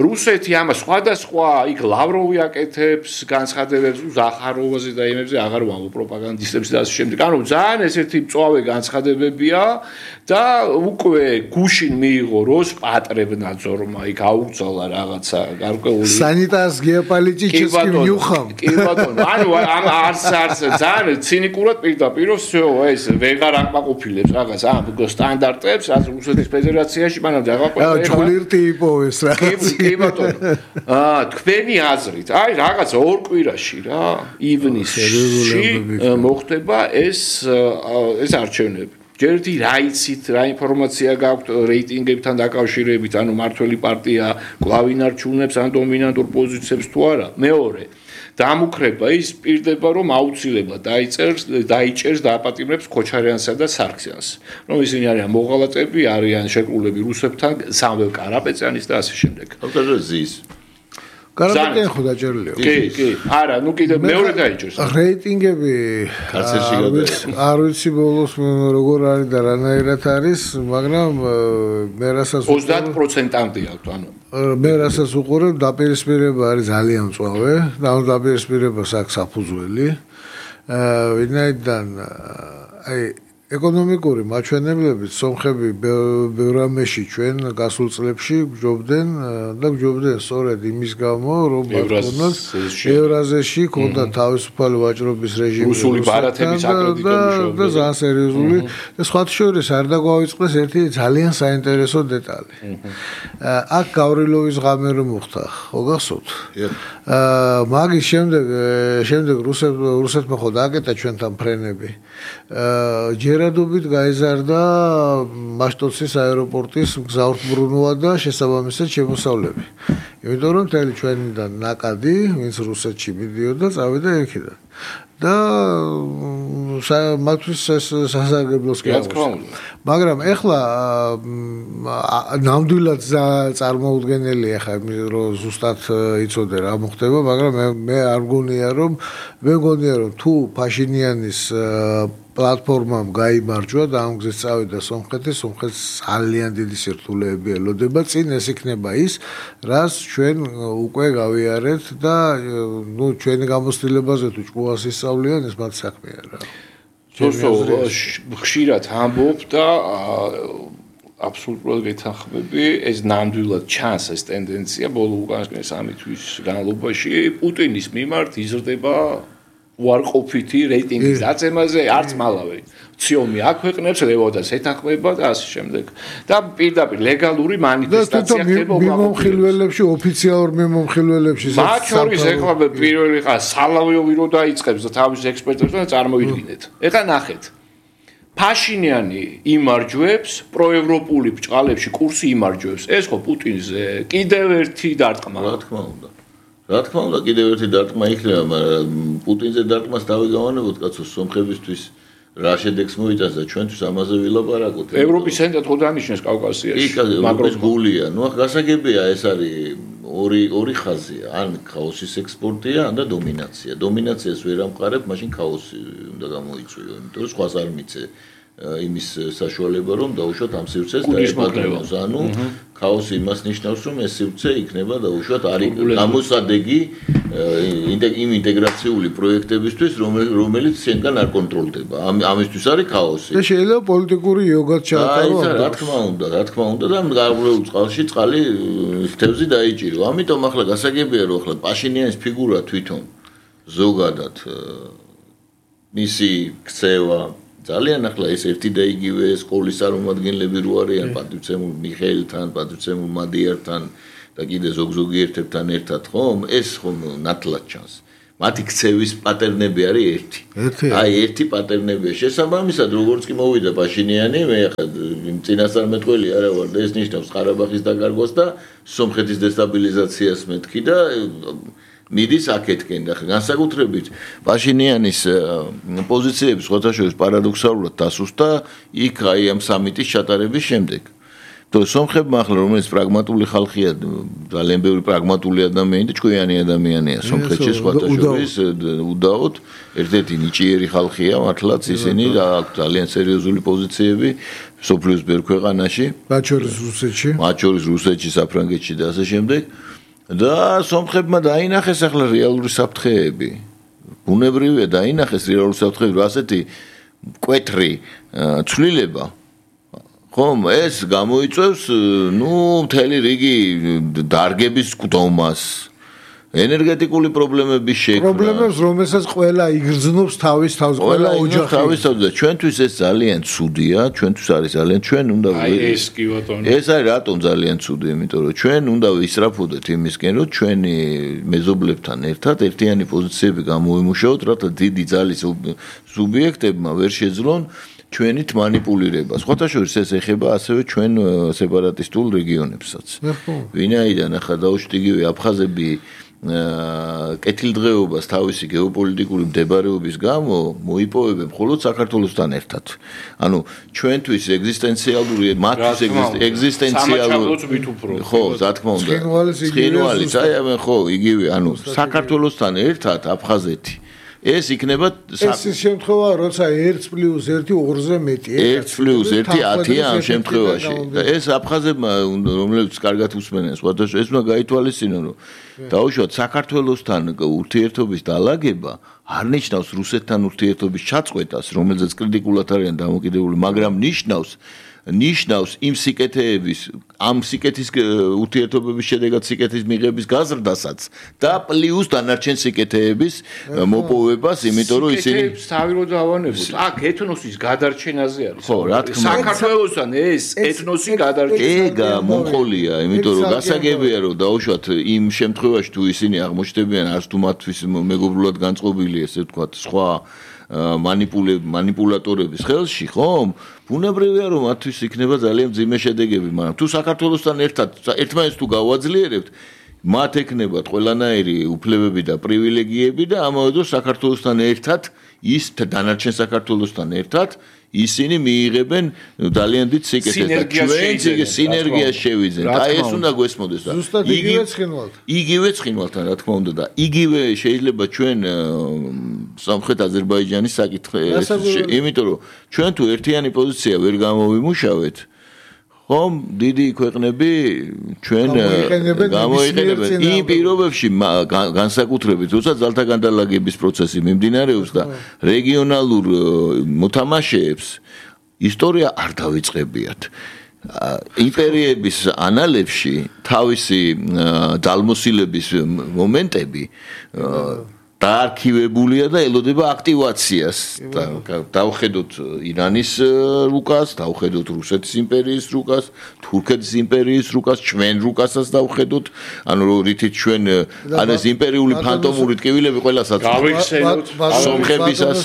Speaker 3: რუსეთი ამას სხვადასხვა იქ ლავროვი აკეთებს განცხადებებს ზახაროვაზე და იმებზე აღარ ვამბობ პროპაგანდისტებს და ასე შემდეგ. ანუ ძალიან ესეთი მწვავე განცხადებებია და უკვე გუშინ მიიღო როსპატრებნაძორმა იქ აუგზავნა რაღაცა გარკვეული
Speaker 1: სანიტარს გეოპოლიტიკისკი მიუხამ.
Speaker 3: კი ბატონო, ანუ არც ძალიან ცინიკურად პირდაპირ всё ეს ვეღარ აკმაყოფილებს რაღაც ამ სტანდარტებს, რაც რუსეთის ფედერაციაში მანამდე აღაკვეთა.
Speaker 1: ჩხლირტი იპოვეს რაღაც.
Speaker 3: კი ბატონო. თქვენი აზრით, აი რაღაც ორ კვირაში რა, ივნისში მოხდება ეს არჩევნები. ჯერდი რა იცით, რა ინფორმაცია გაქვთ რეიტინგებთან დაკავშირებით, ანუ მართველი პარტია კვლავ ინარჩუნებს ან დომინანტურ პოზიციებს თუ არა. მეორე, დამუქრება ის პირდება, რომ აუცილებლად დაიჭერს დააპატიმრებს ქოჩარიანსა და სარქსიანს. რომ ისინი არიან მოღალატები, არიან შეკრულები რუსებთან, სამველ კარაპეტიანის და ასე შემდეგ.
Speaker 2: ავტორი ზის
Speaker 1: კარაპეტიანი ხო დაჭერილია?
Speaker 3: კი. არა, ნუ კიდე მეორე დაიჭერს.
Speaker 1: რეიტინგები
Speaker 2: კარცერში გადაიღო.
Speaker 1: არ ვიცი ბოლოს როგორ არის და რანაირად არის, მაგრამ მე რასაც
Speaker 3: 30%-ამდე აქვს, ანუ
Speaker 1: მე რასაც უყურებ, დაპირისპირება არის ძალიან მწვავე, და ამ დაპირისპირებას აქვს საფუძველი. ვინაიდან აი ეკონომიკური მაჩვენებლებით სომხები ბევრამეში ჩვენ გასულ წლებში გჯობდნენ და გჯობდნენ სწორედ იმის გამო, რომ მათქონდათ ევრაზიაში ქონდა თავისუფალი ვაჭრობის რეჟიმი
Speaker 3: რუსული ბარათების აკრედიტებული
Speaker 1: და ძალიან სერიოზული და სხვათა შორის არ დაგვავიწყდეს ერთი ძალიან საინტერესო დეტალი. აქ გავრილოვის ღამე რომ მოხდა, ხო გახსოვთ? მაგის შემდეგ რუსეთმა ხო დააკეტა ჩვენთან ფრენები. ჯერადობით გაიზარდა მაშტოცის აეროპორტის მგზავრთმბრუნვა და შესაბამისად შემოსავლები. იმიტომ რომ მთელი ჩვენიდან ნაკადი, ვინც რუსეთში მიდიოდა, წავიდა იქიდან. და მათთვის სასარგებლოს კი აღმოჩნდა. მაგრამ ეხლა ნამდვილად წარმოუდგენელია ხა რომ ზუსტად იცოდე რა მოხდება, მაგრამ მე არ მგონია რომ თუ ფაშინიანის პლატფორმამ გაიმარჯვა და ამ გზით წავიდა სომხეთს ძალიან დიდი სირთულეები ელოდება. წინ ეს იქნება ის, რაც ჩვენ უკვე გავიარეთ და ნუ ჩვენი გამოცდილებაზე თუ ჭკუას ისწავლიან, ეს მათ საქმეა რა.
Speaker 3: ხშირად ამბობ და აბსოლუტურად გეთანხმები, ეს ნამდვილად ჩანს ეს ტენდენცია ბოლო უკანასკნელი 3 თვის განმავლობაში პუტინის მიმართ იზრდება უარყოფითი რეიტინგის დაწემაზე არც მალავე. ციომი აქვეყნებს, ლევოდას ეთანხმება და ასე შემდეგ. და პირდაპირ ლეგალური მანიფესტაცია ხდება
Speaker 1: მიმომხილველებში, ოფიციალურ მიმომხილველებში.
Speaker 3: მათ შორის ეხლა პირველი ხა სალავიოვი რო დაიწყებს და თავის ექსპერტებს და წარმოიდგინეთ. ეხლა ნახეთ. ფაშინიანი იმარჯვებს, პროევროპული ბჭყალებში კურსი იმარჯვებს. ეს ხო პუტინზე კიდევ ერთი დარტყმა.
Speaker 2: რა თქმა უნდა. რა თქმა უნდა, კიდევ ერთი დარტყმა იქნება, მაგრამ პუტინზე დარტყმას დავიგავანებოთ, კაცო, სომხებისთვის რა შედეგს მოიწონს და ჩვენთვის ამაზე ვილაპარაკოთ.
Speaker 3: ევროპის ცენტრად ხო დანიშნეს კავკასიაში.
Speaker 2: მაგრამ გულია, ნუ გასაგებია, ეს არის ორი ხაზია, ან ქაოსის ექსპორტია, ან და დომინაცია. დომინაციას ვერ ამყარებ, მაშინ ქაოსი უნდა გამოიწვიო, იმიტომ რომ სხვას არ მიცე იმის საშუალება, რომ დაუშვათ ამ სივრცეს და ეპატრონოს. ანუ ქაოსი იმას ნიშნავს, რომ ეს სივრცე იქნება დაუშვათ არის გამოსადეგი იმ ინტეგრაციული პროექტებისთვის, რომელიც შენგან არ კონტროლდება. ამისთვის არის ქაოსი.
Speaker 1: და შეიძლება პოლიტიკური იოგაც ჩაატარო.
Speaker 2: რა თქმა უნდა და გარკვეულ წყალში წყალი თევზი დაიჭირო. ამიტომ ახლა გასაგებია, რომ ახლა პაშინიანის ფიგურა თვითონ ზოგადად მისი ქცევა ძალიან ახლა ეს ერთი და იგივე სკოლის წარმომადგენლები რო არიან პატრიცემულ მიხეილთან, პატრიცემულ მადიართან და კიდე ზოგ-ზოგი ერთებთან ერთად ხომ ეს ხომ ნათლად ჩანს. მათი ქცევის პატერნები არის ერთი. აი ერთი პატერნებია. შესაბამისად როგორც კი მოვიდა პაშინიანი, მე ახლა წინასწარმეტყველი არა ვარ და ეს ნიშნავს ყარაბაღის დაკარგვას და სომხეთის დესტაბილიზაციას მეთქი და მიდის აქეთკენ და განსაკუთრებით პაშინიანის პოზიციები სხვათაშორის პარადოქსალურად დასუსტა იქ აი ამ სამიტის ჩატარების შემდეგ. თორე სომხებმა ახლა რომელიც პრაგმატული ხალხია, ძალიან ბევრი პრაგმატული ადამიანი და ჭკვიანი ადამიანია სომხეთში სხვათაშორის უდაოდ ერთ-ერთი ნიჭიერი ხალხია მართლაც ისინი აქვს ძალიან სერიოზული პოზიციები სოფლიოს ბევრ ქვეყანაში,
Speaker 1: მათ შორის რუსეთში, საფრანგეთში და ასე შემდეგ. და სომხებმა დაინახეს ახლა რეალური საფრთხეები. ბუნებრივია დაინახეს რეალური საფრთხეები, ასეთი მკვეთრი ცვლილება. ხომ ეს გამოიწვევს, მთელი რიგი დარგების გვდომას. ენერგეტიკული პრობლემების შექმნა. პრობლემებს, რომელსაც ყველა იგრძნობს თავის თავს, ყველა ოჯახი.
Speaker 2: თავის თავს და ჩვენთვის ეს ძალიან ცუდია, ჩვენთვის არის ძალიან ჩვენ უნდა
Speaker 3: ეს კი ბატონო.
Speaker 2: ეს არის რატომ ძალიან ცუდი, იმიტომ რომ ჩვენ უნდა ვისწრაფოდეთ იმისკენ, რომ ჩვენი მეზობლებთან ერთად ერთიანი პოზიციები გამოვიმუშაოთ, რათა დიდი ძალის სუბიექტებმა ვერ შეძლონ ჩვენით манипулირებას. სხვათაშორის ეს ეხება ასევე ჩვენ სეპარატისტულ რეგიონებსაც. ვინაიდან ახლა დაუშვით იგივე აფხაზები კეთილდღეობას თავისი გეოპოლიტიკური მდებარეობის გამო მოიპოვებენ მხოლოდ საქართველოსთან ერთად. ანუ ჩვენთვის ეგზისტენციალური, მათთვის ეგზისტენციალური ხო, რა თქმა უნდა. ცხინვალის, აი ხო, იგივე, ანუ საქართველოსთან ერთად აფხაზეთი ეს იქნება
Speaker 1: ეს შემთხვევა როცა 1+1 2-ზე მეტი
Speaker 2: 1+1 10 ამ შემთხვევაში და ეს აფხაზებმა რომლებიც კარგად უსმენენ სხვადასხვა ეს უნდა გაითვალისწინონ რომ დაუშვათ საქართველოსთან ურთიერთობის დაალაგება არ ნიშნავს რუსეთთან ურთიერთობის ჩაწყვეტას რომელზეც კრიტიკულად არიან დამოკიდებული მაგრამ ნიშნავს იმ სიკეთეების ამ სიკეთის ურთიერთობების შედეგად სიკეთის მიღების გაზრდასაც და პლუს დანარჩენ სიკეთეების მოპოვებას, იმიტომ რომ ისინი
Speaker 3: თავი რო დავანებოთ. აქ ეთნოსის გადარჩენაზე არის.
Speaker 2: ხო, რა თქმა უნდა.
Speaker 3: საქართველოსთან ეს ეთნოსი გადარჩენა.
Speaker 2: ეგა მომყოლია, იმიტომ რომ გასაგებია რომ დაუშვათ იმ შემთხვევაში თუ ისინი აღმოჩნდებიან არც თუ მათთვის მეგობრულად განწყობილი ესე ვთქვათ სხვა манипуляторების ხელში, ხომ? ბუნებრივია რომ მათთვის იქნება ძალიან მძიმე შედეგები, მაგრამ თუ საქართველოსთან ერთად ერთმანეთს თუ გავაძლიერებთ, მათ ექნებათ ყველანაირი უფლებები და პრივილეგიები და ამავე დროს საქართველოსთან ერთად ის დანარჩენ საქართველოსთან ერთად ისინი მიიღებენ ძალიან დიდ სიკეთეს და ჩვენ სინერგია შევიძენთ. აი ეს უნდა გვესმოდეს და იგივე ცხინვალთან რა თქმა უნდა და იგივე შეიძლება ჩვენ სამხრეთ აზერბაიჯანის საკითხი იმიტომ რომ ჩვენ თუ ერთიანი პოზიცია ვერ გამოვიმუშავეთ ხომ დიდი ქვეყნები ჩვენ გამოიყენებენ იმ პირობებში განსაკუთრებით როცა ძალთა განდალაგების პროცესი მიმდინარეობს და რეგიონალურ მოთამაშეებს ისტორია არ დავიწყებიათ იმპერიების ანალებში თავისი ძალმოსილების მომენტები დაარქივებულია და ელოდება აქტივაციას. დავხედოთ ირანის რუკას, დავხედოთ რუსეთის იმპერიის რუკას, თურქეთის იმპერიის რუკას, ჩვენ რუკასაც დავხედოთ. ანუ რითიც ჩვენ არის იმპერიული ფანტომური ტკივილები ყველასაც
Speaker 3: გავიხსენოთ
Speaker 2: სომხებისას.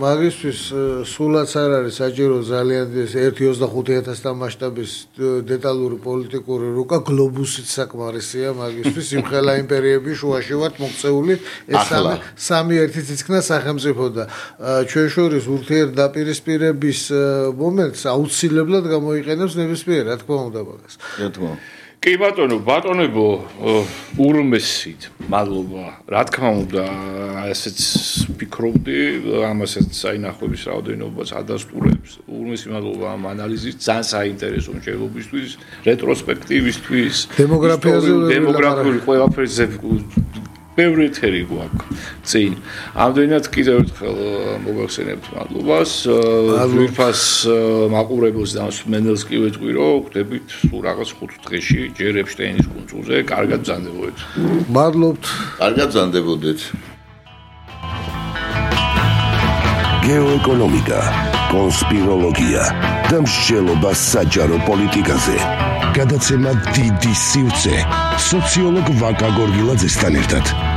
Speaker 1: მაგისთვის სულაც არ არის საჭირო ძალიან 1.25,000-თან მასშტაბის დეტალური პოლიტიკური რუკა, გლობუსიც საკმარისია მაგისთვის. იმხელა იმპერიების შუაში ვართ მოქცეული ეს სამი ერთი თითქნა სახელმწიფო და ჩვენ შორის ურთიერთდაპირისპირების მომენტს აუცილებლად გამოიყენებს ნებისმიერ რა თქმა უნდა მაგას.
Speaker 2: რა თქმა უნდა.
Speaker 3: კი ბატონო, ბატონებო, ურმესით, მადლობა. რა თქმა უნდა, ასეც ფიქრობდი, ამასაც საინახების რაოდენობას ადასტურებს. ურმესი მადლობა ამ ანალიზის, ძალიან საინტერესო მშენებლობისთვის, რეტროსპექტივისთვის, დემოგრაფიული ყველაფერზე ბევრი ეთერი გვაქვს წინ. ამდენად კიდევ ერთხელ მოგახსენებთ მადლობას. ძვირფას მაყურებელს და მსმენელს კი ვეთქვი, რომ გვდებით სულ რაღაც 5 დღეში ჯერ ეპშტეინის კუნძულზე. კარგად ბრძანდებოდეთ.
Speaker 1: მადლობთ.
Speaker 2: კარგად ბრძანდებოდეთ.
Speaker 4: გეოეკონომიკა, კონსპიროლოგია და მსჯელობა საჯარო პოლიტიკაზე. გადაცემა დიდი სივრცე სოციოლოგ ვაკა გორგილაძესთან ერთად.